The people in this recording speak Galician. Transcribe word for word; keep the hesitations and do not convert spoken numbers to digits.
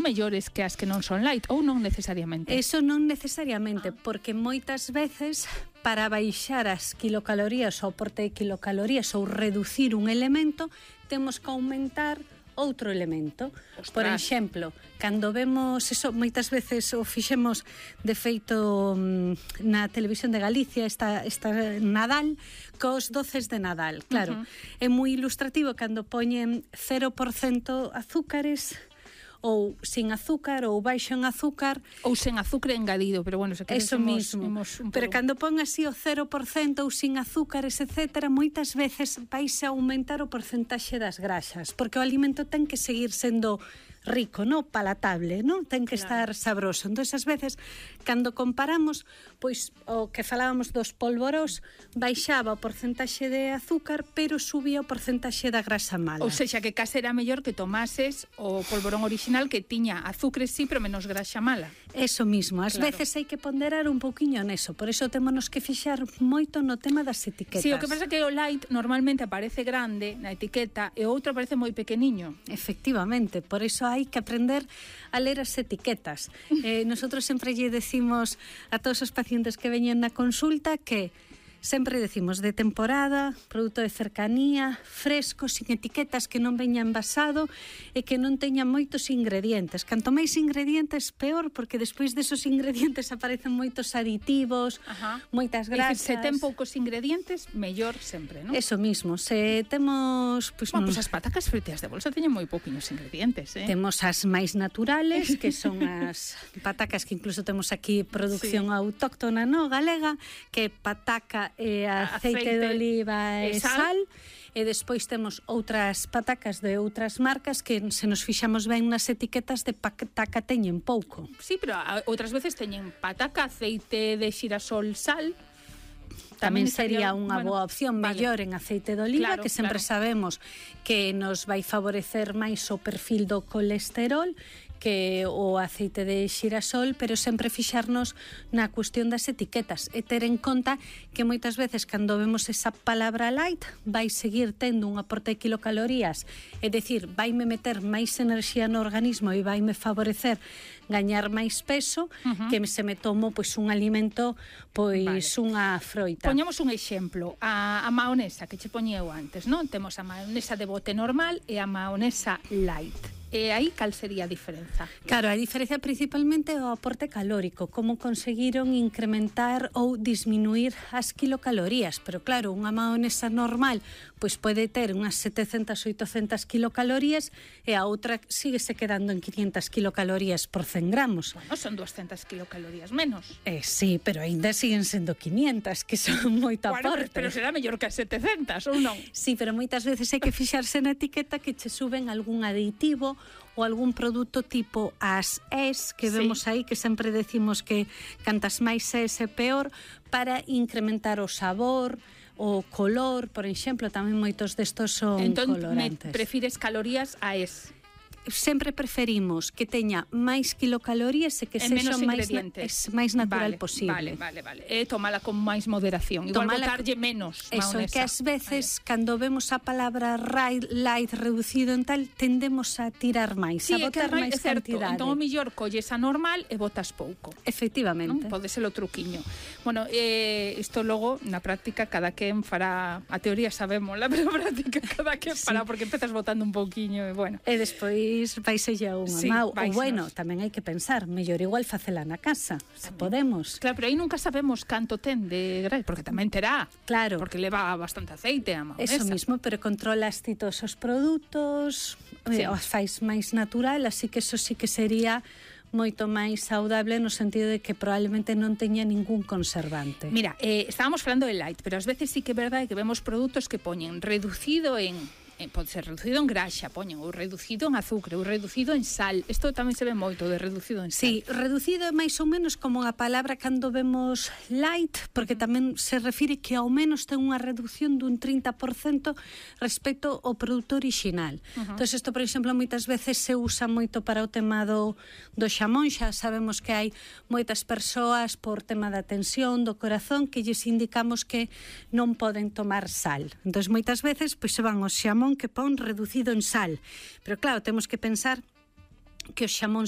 mellores que as que non son light, ou non necesariamente? Eso non necesariamente, porque moitas veces para baixar as kilocalorías ou aporte de kilocalorías ou reducir un elemento, temos que aumentar outro elemento. Ostras. Por exemplo, cando vemos eso, moitas veces o fixemos de feito na televisión de Galicia, esta, esta Nadal, cos doces de Nadal. Claro, uh-huh. É moi ilustrativo cando poñen cero por cento azúcares ou sin azúcar, ou baixo en azúcar, ou sen azúcar engadido, pero bueno, se queres eso imos, mismo. Imos un pero pouco. cando pon así o cero por cento ou sin azúcares, etcétera, moitas veces vais a aumentar o porcentaxe das graxas, porque o alimento ten que seguir sendo rico, no palatable, non? Ten que claro. estar sabroso. Entón, ás veces, cando comparamos, pois o que falábamos dos polvorós, baixaba o porcentaxe de azúcar, pero subía o porcentaxe da grasa mala. Ou sexa, que case era mellor que tomases o polvorón original que tiña azúcar sí, pero menos grasa mala. Eso mismo. Ás claro. veces hai que ponderar un pouquiño neso. Por eso témonos que fixar moito no tema das etiquetas. Sí, o que pasa é que o light normalmente aparece grande na etiqueta e o outro aparece moi pequeniño. Efectivamente, por eso hai que aprender a ler as etiquetas. Eh, nosotros sempre lle decimos a todos os pacientes que veñen na consulta que sempre decimos de temporada, produto de cercanía, fresco, sin etiquetas, que non veña envasado e que non teña moitos ingredientes. Canto máis ingredientes, peor, porque despois desos ingredientes aparecen moitos aditivos, Ajá. moitas grasas. Se ten poucos ingredientes, mellor sempre, non? Eso mismo. Se temos... Pues, bueno, non... pues as patacas fritas de bolsa teñen moi pouquiños ingredientes, eh? Temos as máis naturales, que son as patacas que incluso temos aquí producción sí. autóctona, no, galega, que pataca e aceite, aceite de oliva e sal. sal e despois temos outras patacas de outras marcas que se nos fixamos ben nas etiquetas de pataca teñen pouco. Sí, pero outras veces teñen pataca, aceite de xirasol, sal. Tamén sería unha bueno, boa opción, vale. mellor en aceite de oliva, claro, que sempre claro. sabemos que nos vai favorecer máis o perfil do colesterol que o aceite de xirasol, pero sempre fixarnos na cuestión das etiquetas e ter en conta que moitas veces cando vemos esa palabra light vai seguir tendo un aporte de kilocalorías, é dicir, vaime meter máis enerxía no organismo e vaime favorecer gañar máis peso, uh-huh. que se me tomo pois un alimento, pois vale. unha froita. Poñamos un exemplo, a, a maonesa que che poñeu antes, non? Temos a maonesa de bote normal e a maonesa light. E aí cal sería a diferenza? Claro, a diferencia principalmente é o aporte calórico, como conseguiron incrementar ou disminuir as kilocalorías, pero claro, unha maonesa normal pois pode ter unhas setecentas, oitocentas kilocalorías e a outra síguese quedando en quinientas kilocalorías por cen gramos. Bueno, son doscientas kilocalorías menos. Eh, sí, pero aínda siguen sendo quinientas, que son moito bueno, aporte. Pero será mellor que as setecentas, ou non? Sí, pero moitas veces hai que fixarse na etiqueta que che suben algún aditivo ou algún produto tipo as es que vemos sí. aí, que sempre decimos que cantas máis es é peor, para incrementar o sabor, o color, por exemplo, tamén moitos destos son entón, colorantes. Entón, prefires calorías a es? Sempre preferimos que teña máis kilocalorías e que sexa máis, na, máis natural vale, posible. Vale, vale, vale. E tomala con máis moderación. Igual tomala, botarlle menos eso, maonesa. É que ás veces, vale. cando vemos a palabra light reducido en tal, tendemos a tirar máis, sí, a botar máis cantidade. Entón, o mellor colles a normal e botas pouco. Efectivamente. Non? Pode ser o truquiño. Bueno, eh, isto logo, na práctica, cada quen fará... A teoría sabémola, pero a práctica cada quen sí. fará, porque empezas botando un pouquiño e, bueno. E despois vaise xa unha sí, mau. Ou bueno, tamén hai que pensar, mellor igual facela na casa, se podemos. Claro, pero aí nunca sabemos canto ten de grasa, porque tamén terá. Claro. Porque leva bastante aceite a maonesa. Eso mismo, pero controlas ti todos os produtos, sí. os fais máis natural, así que eso sí que sería moito máis saudable no sentido de que probablemente non teña ningún conservante. Mira, eh, estábamos falando de light, pero ás veces sí que é verdade que vemos produtos que poñen reducido en... Eh, pode ser reducido en graxa, poñen, ou reducido en azúcar, ou reducido en sal. Isto tamén se ve moito de reducido en sal. Sí, reducido é máis ou menos como a palabra cando vemos light, porque tamén se refire que ao menos ten unha reducción dun trinta por cento respecto ao produto original. Uh-huh. Entón, isto, por exemplo, moitas veces se usa moito para o tema do, do xamón. Xa sabemos que hai moitas persoas por tema da tensión, do corazón, que lles indicamos que non poden tomar sal. Entón, moitas veces, pois se van ao xamón que pon reducido en sal. Pero claro, temos que pensar que os xamóns